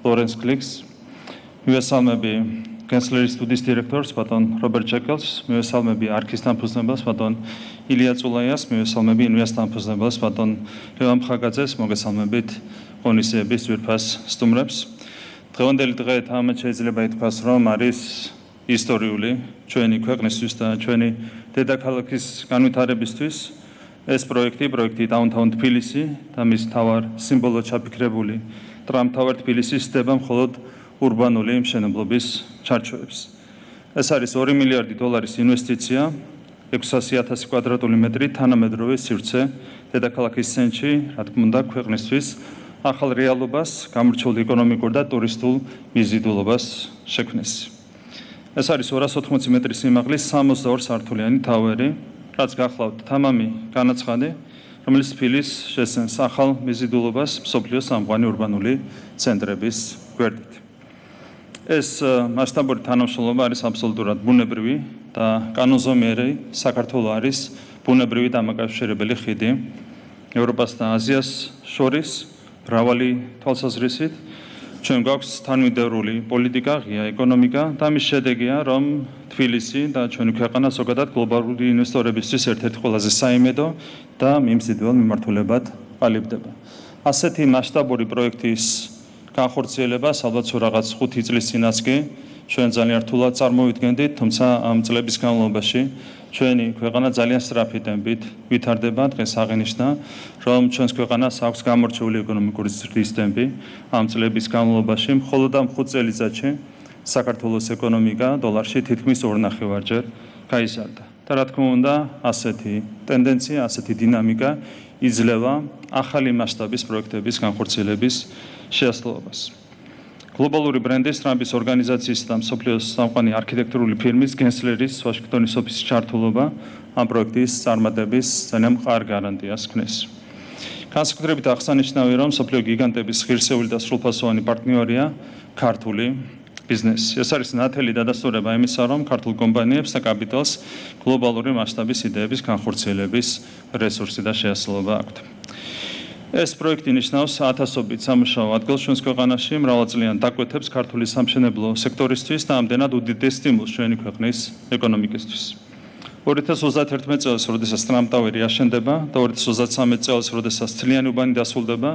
ლორენს კლიქს, მივესალმები კენსლერის სტუდიის დირექტორს, ბატონ რობერტ ჩეკელს, მივესალმები არქის დამფუძნებელს, ბატონ ილია წულაიას, მივესალმები ინვესტ დამფუძნებელს, ბატონ ლევან მხაგაძეს, მოგესალმებით ღონისძიების ძვირფას სტუმრებს. დღევანდელი დღე თამამად შეიძლება ითქვას, რომ არის ისტორიული ჩვენი ქვეყნისთვის და ჩვენი დედაქალაქის განვითარებისთვის. ეს პროექტი Downtown თბილისი და მის მთავარ სიმბოლოდ ჩაფიქრებული ტრამთავარ თბილისის სდება მხოლოდ ურბანული მშენებლობის ჩარჩოებს. ეს არის $2 მილიარდი ინვესტიცია, 600,000 კვადრატული მეტრი თანამედროვე სივრცე დედაქალაქის ცენტრში, რა თქმა უნდა, ქვეყნისთვის ახალ რეალობას, გამორჩეული ეკონომიკურ და ტურისტულ მიზიდულობას შექმნეს. ეს არის 280 მეტრის სიმაღლის 62 სართულიანი თავერი, რაც გახლავთ თამამი განაცხადი, რომელიც თბილისს შესცემს ახალ მიზიდულობას მსოფლიოს სამყარო ურბანული ცენტრების გვერდით. ეს მასშტაბური თანამშრომლობა არის აბსოლუტურად ბუნებრივი და კანონზომიერი საქართველოს არის ბუნებრივი დამაკავშირებელი ხიდი ევროპას და აზიას შორის მრავალი თვალსაზრისით. ჩვენ გვაქვს თანმიმდევრული პოლიტიკა, ღია ეკონომიკა და მის შედეგია, რომ თბილისი და ჩვენი ქვეყანა ზოგადად გლობალური ინვესტორებისთვის ერთ-ერთი ყველაზე საიმედო და მიმზიდველ მიმართულებად ყალიბდება. ასეთი მასშტაბური პროექტის განხორციელებას ალბათ რაღაც 5 წლის წინაც კი ჩვენ ძალიან რთულად წარმოვიდგენდით, თუმცა ამ წლების განმავლობაში ჩვენი ქვეყანა ძალიან სწრაფი ტემპით ვითარდება. დღეს აღინიშნა, რომ ჩვენს ქვეყანას აქვს გამორჩეული ეკონომიკური ზრდის ტემპი. ამ წლების განმავლობაში მხოლოდ ამ 5 წელიწადში საქართველოს ეკონომიკა დოლარში თითქმის 2.5-ჯერ გაიზარდა. და რა თქმა უნდა, ასეთი ტენდენცია, ასეთი დინამიკა იძლევა ახალი მასშტაბის პროექტების განხორციელების შეასრულებას. გლობალური ბრენდის ტრამპის ორგანიზაციის და მსოფლიოს სამყარო არქიტექტურული ფირმის გენსლერის ვაშინგტონის ოფისის ჩართულობა ამ პროექტის წარმატების ძალიან მყარ გარანტიას ქმნის. განსაკუთრებით აღსანიშნავია, რომ მსოფლიო გიგანტების ღირსეული და სრულფასოვანი პარტნიორია ქართული ბიზნესი. ეს არის ნათელი დადასტურება იმისა, რომ ქართულ კომპანიებს და კაპიტალს გლობალური მასშტაბის იდეების განხორციელების რესურსი და შეასრულება აქვთ. ეს პროექტი ნიშნავს ათასობით სამუშაო ადგილს ჩვენს ქვეყანაში, მრავალწლიან დაკვეთებს ქართული სამშენებლო სექტორისთვის და ამდენად უდიდეს სტიმულს ჩვენი ქვეყნის ეკონომიკისთვის. 2031 წელს, როდესაც ტრამტავერი აშენდება და 2033 წელს, როდესაც მთლიანი უბანი დასრულდება,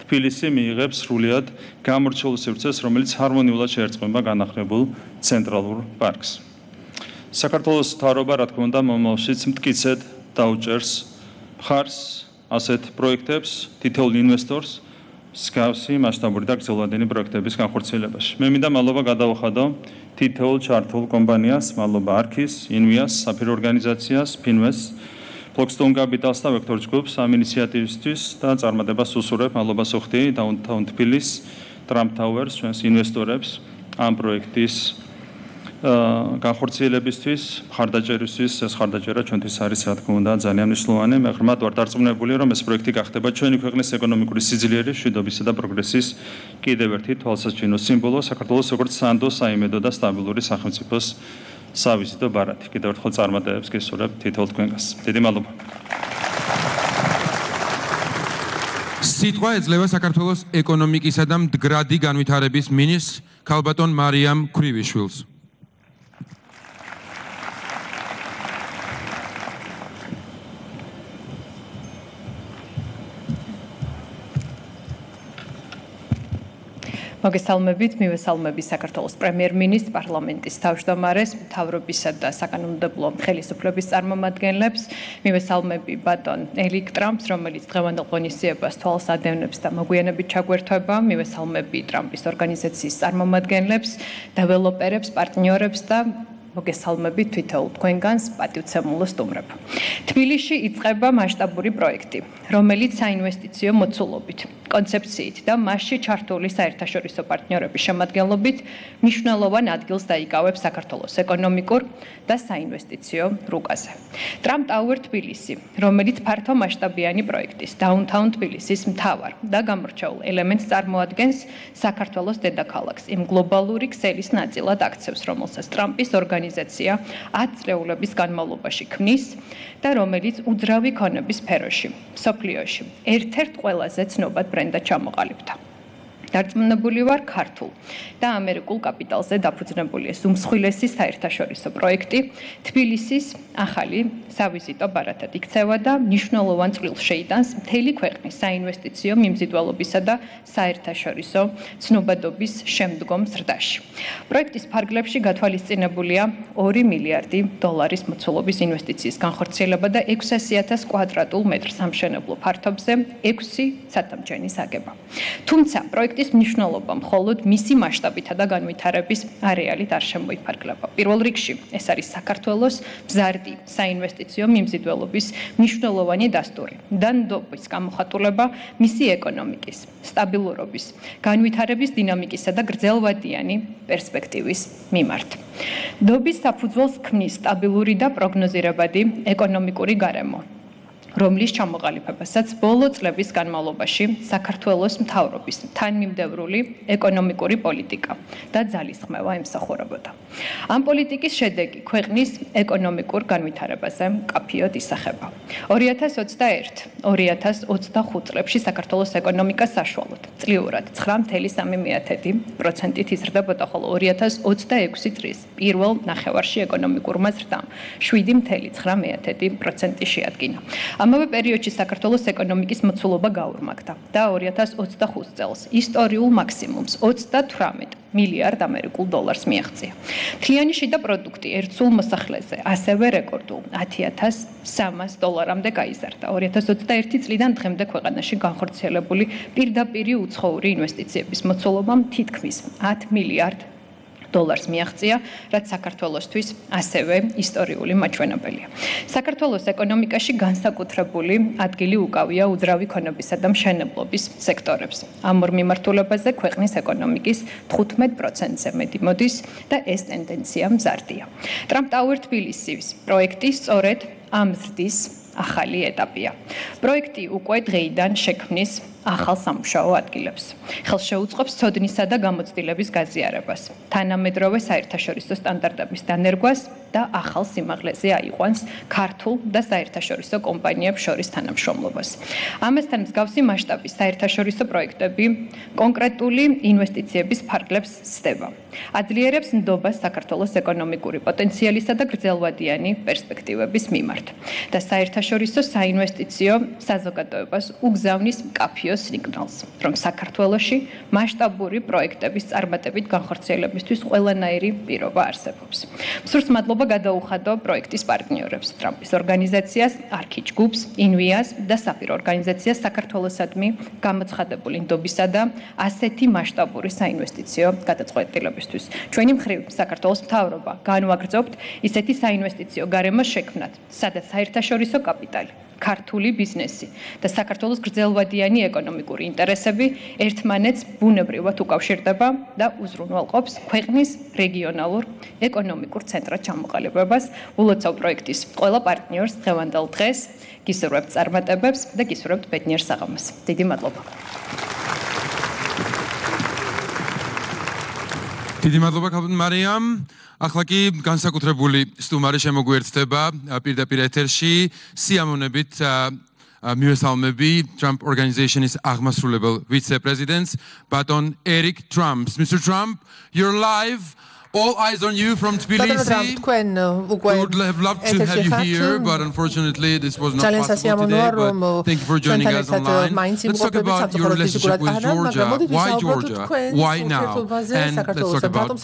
თბილისი მიიღებს სრულად გამორჩეულ სივრცეს, რომელიც ჰარმონიულად შეერწყმება განახლებულ ცენტრალურ პარკს. საქართველოს მთავრობა, რა თქმა უნდა, მომავალშიც მტკიცედ დაუჭერს მხარს ასეთ პროექტებს, თითოეულ ინვესტორს მსგავსი მასშტაბური და გრძელვადენი პროექტების განხორციელებაში. მე მინდა მადლობა გადავუხადო თითოეულ ჩართულ კომპანიას, მადლობა არქის, ინვიას, საფირო ორგანიზაციას, ფინვეს, ფლოქსტონ კაპიტალს და ვექტორ ჯგუფს ამ ინიციატივისთვის და წარმატებას უსურვებ. მადლობას ვუხდი Downtown თბილისს, Trump Towers, ჩვენს ინვესტორებს ამ პროექტის განხორციელებისთვის, მხარდაჭერისთვის. ეს მხარდაჭერა ჩვენთვის არის, რა თქმა უნდა, ძალიან მნიშვნელოვანი. მე ღრმად ვარ დარწმუნებული, რომ ეს პროექტი გახდება ჩვენი ქვეყნის ეკონომიკური სიძლიერის, მშვიდობისა და პროგრესის კიდევ ერთი თვალსაჩინო სიმბოლო, საქართველოს როგორც სანდო, საიმედო და სტაბილური სახელმწიფოს სავიზიტო ბარათი. კიდევ ერთხელ წარმატებებს გესურვებ თითოეულ თქვენგანს. დიდი მადლობა. სიტყვა ეძლევა საქართველოს ეკონომიკისა და მდგრადი განვითარების მინისტრს ქალბატონ მარიამ ქრივიშვილს. მოგესალმებით, მივესალმები საქართველოს პრემიერ-მინისტრს, პარლამენტის თავმჯდომარეს, მთავრობისა და საკანონმდებლო ხელისუფლების წარმომადგენლებს, მივესალმები ბატონ ელიკ ტრამპს, რომელიც დღევანდელ ღონისძიებას თვალს ადევნებს და მოგვიანებით ჩაგვერთვება, მივესალმები ტრამპის ორგანიზაციის წარმომადგენლებს, დეველოპერებს, პარტნიორებს და მოგესალმებით თითოეულ თქვენგანს, პატივცემულო სტუმრებო. თბილისში იწყება მასშტაბური პროექტი, რომელიც საინვესტიციო მოცულობით, კონცეფციით და მასში ჩართული საერთაშორისო პარტნიორების შემადგენლობით მნიშვნელოვან ადგილს დაიკავებს საქართველოს ეკონომიკურ და საინვესტიციო რუკაზე. Trump Tower თბილისი, რომელიც ფართო მასშტაბიანი პროექტის Downtown თბილისის მთავარ და გამორჩეულ ელემენტს წარმოადგენს საქართველოს დედაქალაქს იმ გლობალური ქსელის ნაწილად აქცევს, რომელსაც ტრამპის ორგანიზაცია 10 წლეულების განმავლობაში ქმნის და რომელიც უძრავი ქონების სფეროში, მსოფლიოში ერთ-ერთ ყველაზე ცნობად ბრენდად ჩამოყალიბდა. დარწმუნებული ვარ ქართულ და ამერიკულ კაპიტალზე დაფუძნებული ეს უმსხვილესი საერთაშორისო პროექტი თბილისის ახალი სავიზიტო ბარათად იქცევა და მნიშვნელოვან წვლილს შეიტანს მთელი ქვეყნის საინვესტიციო მიმზიდველობისა და საერთაშორისო ცნობადობის შემდგომ ზრდაში. პროექტის ფარგლებში გათვალისწინებულია 2 მილიარდი დოლარის მოცულობის ინვესტიციის განხორციელება და 600,000 კვადრატულ მეტრ სამშენებლო ფართობზე 6 სათამჯენის აგება. თუმცა პროექტის მნიშვნელობა მხოლოდ მისი მასშტაბითა და განვითარების არეალით არ შემოიფარგლება. პირველ რიგში ეს არის საქართველოს მზარდი საინვესტიციო მიმზიდველობის მნიშვნელოვანი დასტური და ნდობის გამოხატულება მისი ეკონომიკის, სტაბილურობის, განვითარების დინამიკისა და გრძელვადიანი პერსპექტივის მიმართ. ნდობის საფუძველს ქმნის სტაბილური და პროგნოზირებადი ეკონომიკური გარემო, რომლის ჩამოყალიბებასაც ბოლო წლების განმავლობაში საქართველოს მთავრობის თანმიმდევრული ეკონომიკური პოლიტიკა და ძალისხმევა ემსახურებოდა. ამ პოლიტიკის შედეგი ქვეყნის ეკონომიკურ განვითარებაზე მკაფიოდ ისახება. 2021-2025 წლებში საქართველოს ეკონომიკა საშუალოდ წლიურად 9.3%-ით იზრდებოდა, ხოლო 2026 წლის პირველ ნახევარში ეკონომიკურმა ზრდამ 7.9% შეადგინა. ამავე პერიოდში საქართველოს ეკონომიკის მოცულობა გაურმაგდა და 2025 წელს ისტორიულ მაქსიმუმს 38 მილიარდ ამერიკულ დოლარს მიაღწია. მთლიანი შიდა პროდუქტი ერთ სულ მოსახლეზე ასევე რეკორდულ 10,300 დოლარამდე გაიზარდა. 2021 წლიდან დღემდე ქვეყანაში განხორციელებული პირდაპირი უცხოური ინვესტიციების მოცულობამ თითქმის 10 მილიარდ დოლარს მიაღწია, რაც საქართველოსთვის ასევე ისტორიული მაჩვენებელია. საქართველოს ეკონომიკაში განსაკუთრებული ადგილი უკავია უძრავი ქონობისა და მშენებლობის სექტორებს. ამ ორ მიმართულებაზე ქვეყნის ეკონომიკის 15%-ზე მეტი მოდის და ეს ტენდენცია მზარდია. Trump Tower თბილისის პროექტი სწორედ ამ ზრდის ახალი ეტაპია. პროექტი უკვე დღეიდან შექმნის ახალ სამუშაო ადგილებს. ხელს შეუწყობს ცოდნისა და გამოცდილების გაზიარებას, თანამედროვე საერთაშორისო სტანდარტების დანერგვას და ახალ სიმაღლეზე აიყვანს ქართულ და საერთაშორისო კომპანიებს შორის თანამშრომლობას. ამასთან მსგავსი მასშტაბის საერთაშორისო პროექტები კონკრეტული ინვესტიციების ფარგლებს სდება. აძლიერებს ნდობას საქართველოს ეკონომიკური პოტენციალისა და გრძელვადიანი პერსპექტივების მიმართ და საერთაშორისო საინვესტიციო საზოგადოებას უგზავნის მკაფიო სიგნალს, რომ საქართველოში მასშტაბური პროექტების წარმატებით განხორციელებისთვის ყველანაირი პირობა არსებობს. მსურს მადლობა გადაუხადო პროექტის პარტნიორებს, ტრამპის ორგანიზაციას, არქი ჯგუფს, ინვიას და საფირო ორგანიზაციას საქართველოსადმი გამოცხადებული ნდობისა და ასეთი მასშტაბური საინვესტიციო გადაწყვეტილებისთვის. ჩვენი მხრივ საქართველოს მთავრობა განვაგრძობთ ისეთი საინვესტიციო გარემოს შექმნათ, სადაც საერთაშორისო კაპიტალი, ქართული ბიზნესი და საქართველოს გრძელვადიანი ეკონომიკური ინტერესები ერთმანეთს ბუნებრივად უკავშირდება და უზრუნველყოფს ქვეყნის რეგიონალურ ეკონომიკურ ცენტრად ჩამოყალიბებას. ულოცავ პროექტის ყველა პარტნიორს დღევანდელ დღეს გისურვებთ წარმატებებს და გისურვებთ ბედნიერ საღამოს. დიდი მადლობა. დიდი მადლობა ქალბატონ მარიამ. ახლა კი განსაკუთრებული სტუმარი შემოგვიერთდება პირდაპირ ეთერში სიამოვნებით მივესალმები Trump Organization-ის აღმასრულებელ ვიცე-პრეზიდენტს ბატონ Eric Trump. Mr. Trump, you're live. All eyes on you from Tbilisi. We would have loved to have you here, but unfortunately this was not possible today. But thank you for joining us online. Let's talk about your relationship with Georgia. Why Georgia? Why now? And let's talk about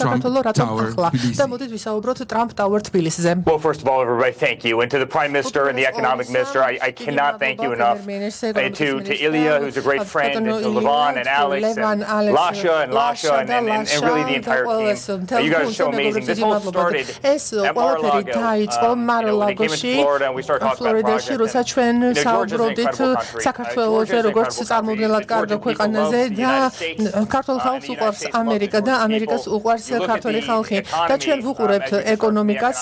Trump Tower Tbilisi. Well, first of all, everybody, thank you. And to the Prime Minister and the Economic Minister, I cannot thank you enough. To Ilya, who's a great friend, and to Levon and Alex, and Lasha and really the entire team. You guys are so amazing. This all started at Mar-a-Lago when they came into Florida and we started talking about projects. Georgia's an incredible country. Georgia is an incredible country. Georgian people love the United States. ქართულ ხალხს უყვარს ამერიკა და ამერიკას უყვარს ქართული ხალხი და ჩვენ ვუყურებთ ეკონომიკას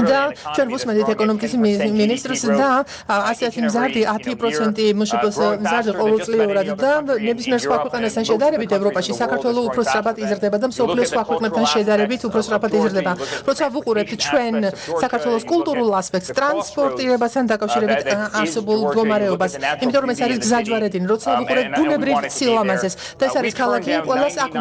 და ჩვენ ვუსმენთ ეკონომიკის მინისტრს და ასეთი მზარდი 10% მშპ-ს მზარდი ყოველწლიურად და ნებისმიერ სხვა ქვეყანასთან შედარებით ევროპაში საქართველოს უფრო სწრაფად იზრდება და მსოფლიოს სხვა ქვეყნებთან შედარებით უფრო სწრაფად იზრდება. როცა ვუყურებთ ჩვენ საქართველოს კულტურულ ასპექტს, ტრანსპორტირებასთან დაკავშირებით არსებულ მდგომარეობას, იმიტომ რომ ეს არის გზაჯვარედინი, როცა ვუყურებთ ბუნებრივ სილამაზეს და ეს არის ქალაქი, ყველას აქვს